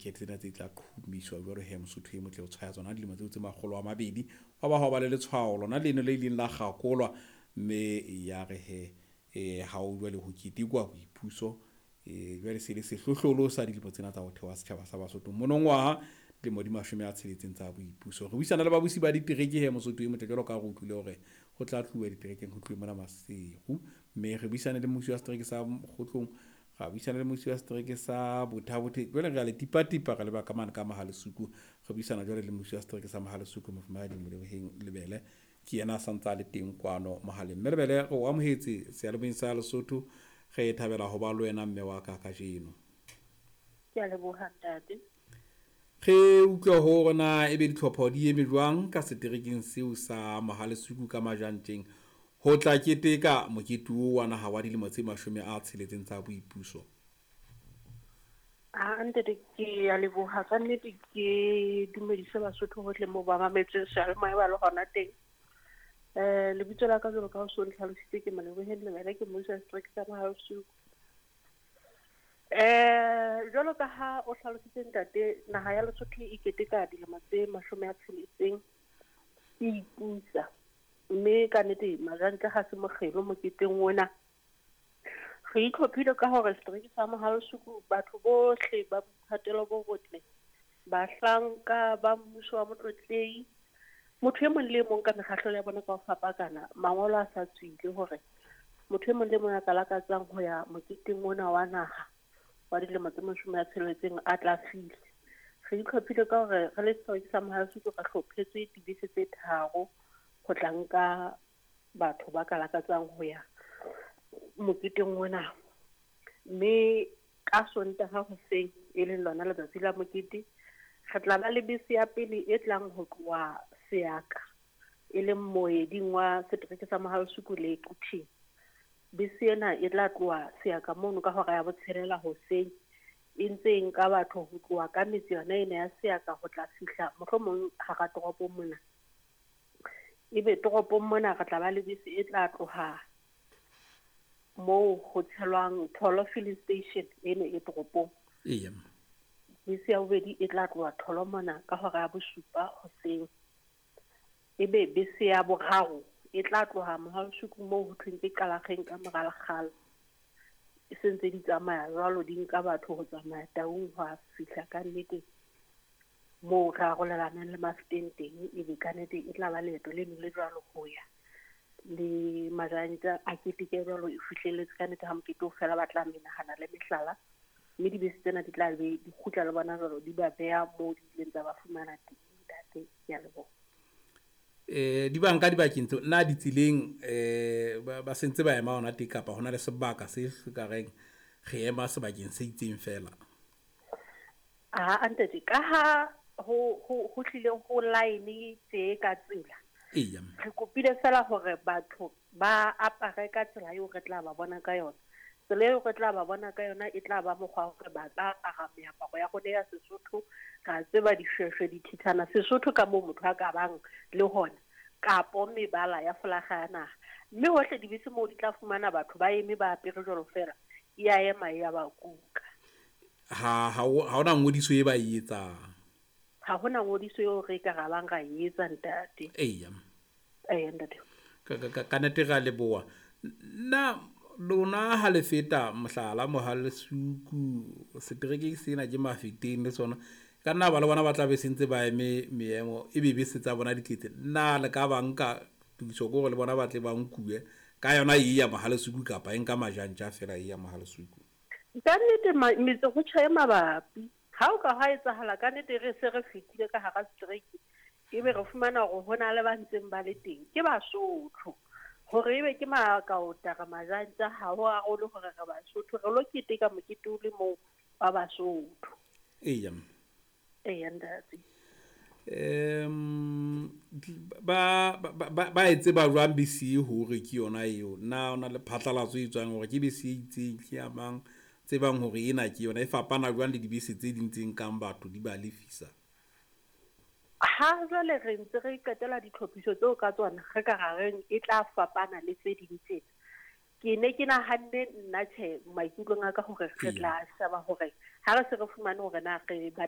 Di-rocket tsena tse tla qhumiswa jwalo he, Mosotho e motle, o tshwaya tsona dilemo tseo tse 200. Hwa ba hwa ba le letshwao lona leno le ileng la kgakolwa, mme ya re he ha o jwale ho ketekwa boipuso, jwale se le sehlohlolo sa dilemo tsena tsa ho thewa setjhaba sa Basotho. Monongwaha dilemo di 60 tsa boipuso. Re buisana le babusi ba ditereke he, Mosotho e motle, jwalo ka ha re utlwile hore ho tla tluwa diterekeng, ho tluwe mona Maseru. Mme re buisane le mmusi wa setereke sa Mokgotlong, ra buisana le mmusi wa setereke sa Botha-Bothe. Jwale re a le tipa-tipa, re leba ka mane ka Mohalesuku. Re buisana jwale le mmusi wa setereke sa Mohalesuku, Mofumahadi Moleboheng Lebele. Ke yena a santsa a le teng kwano mohaleng. Mme Lebele, re o amohetse seyalemoyeng sa Lesotho. Re thabela ho ba le wena mme wa ka kajeno. Ke a leboha, ntate. Re utlwe hore na ebe ditlhopho di eme jwang ka seterekeng seo sa Mohalesuku ka Majantjeng ho tla keteka mokete oo wa naha wa dilemo tse 60 tsa boipuso. A ntate, ke a leboha ka nnete, ke dumedise Basotho hohle moo ba mametseng seyalemoya ba le hona teng. Lebitso la ka jwalo ka ha o so ntlhalositse ke Moleboheng Lebele, ke mmusi wa setereke sa Mohalesuku. Jwalo ka ha o hlalositse ntate, naha ya Lesotho e keteka dilemo tse 60 e ipusa. Mme ka nnete Majantja ha se mokgelo moketeng ona. Re itlhophile ka hore setereke sa Mohalesuku batho bohle ba boithatelo bo botle, bahlanka ba mmuso wa Motlotlehi, motho e mong le e mong ka mekgahlelo ya bona ka ho fapakana, mangolo a sa tswile hore motho e mong le mong a ka lakatsang ho ya moketeng ona wa naha wa dilemo tse 60 a tla fihle. Re itlhophile ka hore re le setereke sa Mohalesuku re hlophetswe dibese tse 3 ho tla nka batho ba ka lakatsang ho ya moketeng ona. Mme ka Sontaha hoseng, e leng lona letsatsi la mokete, re tla ba le bese ya pele e tlang ho tloha Seaka, e leng moeding wa setereke sa Mohalesuku le Quthing. Bese ena e tla tloha Seaka mono ka hora ya 6 hoseng, e ntse e nka batho ho tloha ka metse yona ena ya Seaka ho tla fihla mohlomong hara toropo mona. Ebe toropong mona re tla ba le bese e tla tloha moo ho tshelwang Tholo filling station eno e toropong. Bese ya bobedi e tla tloha Tholo mona ka hora ya 7 hoseng. Ebe bese ya boraro e tla tloha Mohalesuku moo ho thweng ke Qalakgeng ka mora lekgalo. E sentse di tsamaya jwalo, di nka batho ho tsamaya Taung ho a fihla ka nnete moo re arolelanang le Mafeteng teng. Ebe ka nnete e tla ba leeto leno le jwalo ho ya le Majantja a keteke jwalo, e fihlelletse ka nnete ha mokete o fela ba tla menahana le mehlala. Mme dibese tsena di tla be di kgutla le bona jwalo, di ba beha moo di ileng tsa ba fumana teng. Ntate, ke a leboha. Di banka dibakeng tseo, na ditseleng ba sentse ba ema hona teng, kapa hona le sebaka se ka reng re ema sebakeng se itseng feela? A ntate, ka ha ho hlile ho line tje ka tsela. Re kopile fela hore batho ba apare ka tsela eo re tla ba bona ka yona. Tsela eo re tla ba bona ka yona e tla ba mokgwa hore ba tla apara meaparo ya rona ya Sesotho, ra tseba dishweshwe, dithithana, Sesotho ka moo motho a ka bang le hona, kapo mebala ya folaga ya naha. Mme hohle dibese moo di tla fumana batho ba eme ba apere jwalo fela, e a ema e ya ba kuka. Ha hona ngodiso e ba e etsang. Ha hona ngodiso eo re ka ra bang ra e etsa, ntate. Eya. Eya, ntate. Ka nnete re a leboha. Na lona ha le feta mohlala Mohalesuku seterekeng sena ke Mafeteng le sona, ka nna ba le bona ba tla be sentse ba eme meemo e be bese tsa bona di tletse. Na le ka ba nka tokiso ke hore le bona ba tle ba nkuwe ka yona e ya Mohalesuku kapa e nka Majantja fela e ya Mohalesuku? Ka nnete metse ho tjha e mabapi. Ha o ka hwa etsahala ka nnete re se re fetile ka hara setereke, ebe re fumana hore ho na le ba ntseng ba le teng, ke Basotho. Hore ebe ke Makaota re Majantja, ha ho arole hore re Basotho, re lo keteka mokete o le mong wa Basotho. Eya. Eya, ntate. Ba e tseba jwang bese hore ke yona eo? Na ona le phatlalatso e tswang hore ke bese e itseng, ke ya mang? Tsebang hore ena ke yona, e fapana jwang le dibese tse ding tse nkang batho di ba lefisa? Ha jwale re ntse re qetela ditlhophiso tseo ka tsona, re ka ra reng e tla fapana le tse ding tsena. Ke ne ke nahanne nna tjhe maikutlong a ka hore re tla sheba hore ha re se re fumane hore na re ba